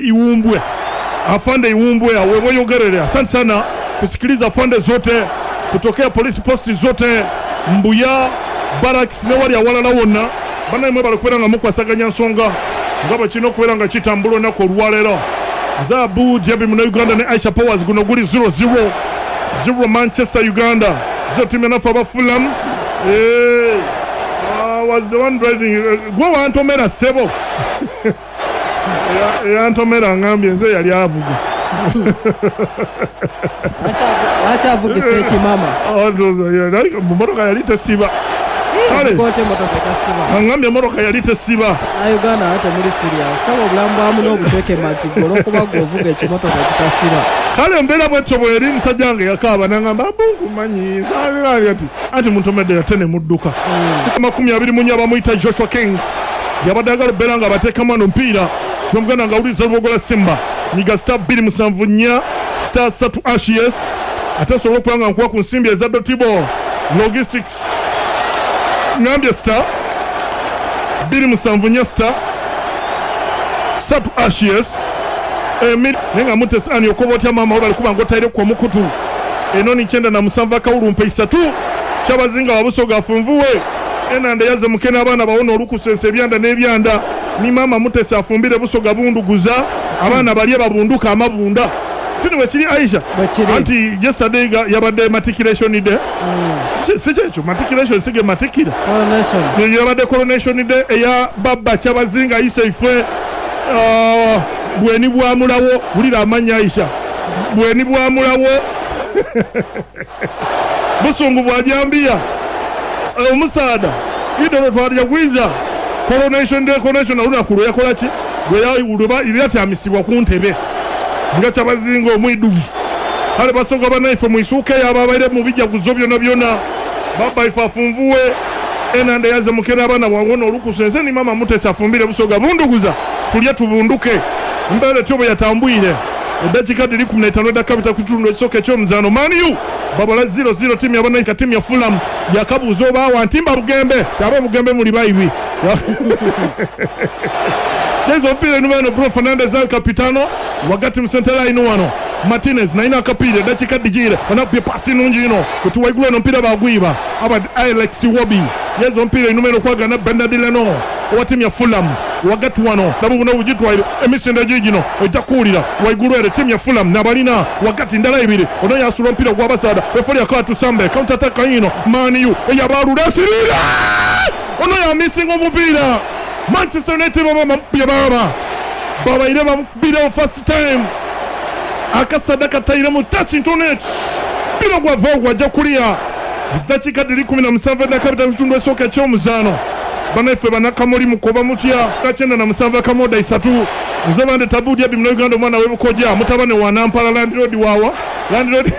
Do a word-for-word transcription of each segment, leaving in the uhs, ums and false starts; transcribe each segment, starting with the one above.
Iwumbwe, afande Iwumbwe aweweyogerere. Asante sana kusikiliza afande zote kutokea polisi posti zote, Mbuya Barracks ne wali awalala wonna. Bannamwe bali nga mukwasaganya nsonga nga bwe kirina okubeera nga kitambula olunaku olwaleero. Zaabu Jabi muna Uganda ne Aisha Powers, guno guli zero zero zero Manchester Uganda zo timu yanafe aba Fulham. Eh, I was the one driving. Eh, gwe wantomera ssebo. Eya- eyantomera ngambye nze yali avuga. Lwaki avugisa ekimama? Ah, ndowooza yali- mu motoka yali tesiba. Kale. Kote emotoka etasiba. Angambye emotoka yali tesiba. Na Uganda ate muli serious, saba obulamu bwamu n'obuteeke matigga olwokuba gwe ovuga ekimotoka ekitasiba. Kale embeera bwetyo bweri. Musajja wange yakaaba nangamba bunkumanyi saali ati anti muntomedde ate ne mudduka. Makumi abiri mu nnya bamuyita Joshua King, yabadde agala okubeera nga bateekamu ano omupiira gwemuganda nga awuliriza Lubogola Simba. Nyiga star bbiri musanvu nnya star ssatu hash, yes, ate nsobola okuba nga nkuwa ku nsimbi eza Dotibo Logistics. Ngambye star bbiri musanvu nnya star ssatu hash, yes. Emi naye nga mutesi ani okoba otya maama we bali kuba nga otaireku omukutu enoni kyenda na musanvu akawulumpa isatu Kyabazinga wabusoga afunvuwe enanda yaze mukene abaana bawona olukusensa ebyanda n'ebyanda ni maama Mutesi afumbire busoga bunduguza abaana balye babunduka amabunda tini bwe kiri, Aisha. Bwe kiri. Anti yesterday ga- yabadde matriculation day. Si- si kyekyo matriculation sige matikira. Coronation. Yo yabadde coronation day eya baba Kyabazinga Isaife, uh, bweni bwamulawo. Wulira amannya, Aisha, bweni bwamulawo, busungu bwajambiya omusaada idolo twalya gwiza coronation day. Coronation olunaku lwe yakola ki, lwe yatyamisibwa ku ntebe nga Kyabazinga omwiduvu. Kale basoga banaife mwisuukeyo ababaire mu bijaguzo byonna byonna, baba ife afunvuwe enanda yaze mukera abaana wawona olukusa ense ni mama Mutesi afumbire busoga bunduguza tulye tubunduke. Embeera etyo bwe yatambwire. Eddakiika diri kumi n'etaano eddakka bita ku kitundu ekisooka ekyomuzaano, Man U babala zero zero tiimu yabanaika tiimu ya Fulham. Yakabuuza obaawa ntimba Bugembe abe Bugembe muli baibi jeza omupiira enyuma eno. Bruno Fernandes al capitano wagati mu center line wano Martinez naina akapiira. Eddakiika digiire onakubye pasi nungi ino kutuwaigulu eno omupiira bagwiba aba Alex Iwobi. Yeza omupiira enyuma eno kwagana Bernard Leno owa tiimu ya Fulham wagati wano nabo buno bugitwaire emisinde gigino ojja kuwulira waigulu ere tiimu ya Fulham nabalina wagati ndala ibiri ono yasula omupiira gw'abasaada efoli akatusambe counter attack ino Man U eyabalula esirira ono yamisinga omupiira. Manchester United baba bamukubye, baba babaire bamukubirewo first time akasada kataire mu touch internet mpira gwava gwajja kuliya. Eddakiika diri kumi na musanvu eddakka bitatu kitundu esooka ekyomuzaano. Banaife banakamuli mukoba mutya kyenda na musanvu akamoda isatu. Nze bande Tabudi Abi Munauganda, omwana w'ebukoja, mutabane wa Nampala landlord, wawa landlord,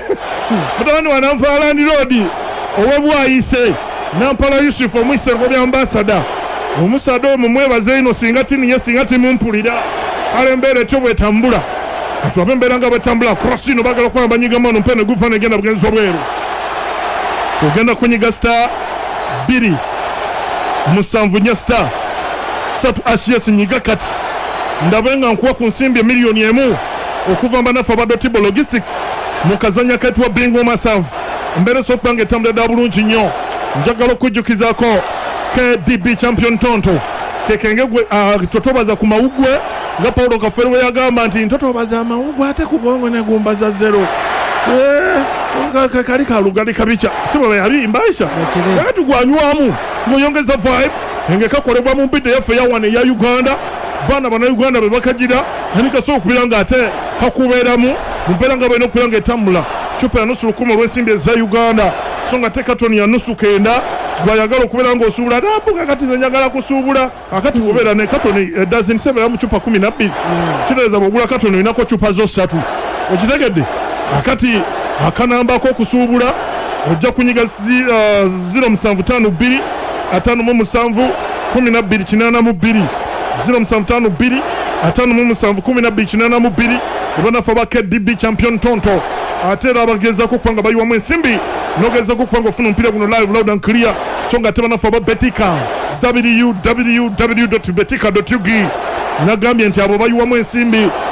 mutabane wa Nampala landlord ow'ebwayise Nampala Yusufu omwisengo bya ambasada. Omusaada omwo mwebaze ino singa tiniye singa timumpulira. Kale embeera etyo bwetambula, kati embeera nga bwetambula. Cross ino bagala okuba banyigamu ono mpene gufa negenda bugenzi wabweru. Ogenda kunyiga star bbiri musanvu nnya star ssatu hash, yes. Nyiga kati ndabe nga nkuwa ku nsimbi emiliyoni emu okuva mbanafe aba Dotibo Logistics mu kazanya kaitwa Bingo Masavu. Embeera esobola okuba nga etambula ddala bulungi nnyo. Njagala okujjukizaako K D B Champion Tonto kekenge gwe uh, totobaza ku mawugwe nga Paulo Kafere bwe yagamba nti ntotobaza amawugwe ate ku bwongo negumbaza zero. Eh, ka- kali kalugali kabica si bwe yabimba, Aisha? Bwekiri. Kakati gwanywamu ng'oyongeza vibe enge kakolebwa mu mbidde yaffe yawana eya Uganda. Baana bannayuganda be bakagira ani kasobola okubeera ng'ate kakubeeramu mu mbeera nga balina okubeera ng'etambula. Cupa ya nusu lukumi olw'ensimbi eza Uganda, so nga te katoni ya nusu kenda. Gwayagala okubeera ng'osuubula nabuga kati nze njagala kusuubula akati bw'obeera ne katoni dozen sebeera mu cupa kumi na bbiri, kitegeeza bw'ogula katoni olinako cupa zo ssatu. Okitegedde? Akati akanambako okusuubula ojja kunyiga zi- uh, zero musanvu ttaano bbiri ataano mu musanvu kumi na bbiri kinaana mu bbiri, zero musanvu ttaano bbiri ataano mu musanvu kumi na bbiri kinaana mu bbiri. Ebanafe ba K D B Champion Tonto ate era abagezaako okuba nga bayiwamu ensimbi nogezaako okuba nga ofuna omupiira guno live, loud and clear. So nga ate banafe aba Betika, W W W betika ug, nagambye nti abo bayiwamu ensimbi.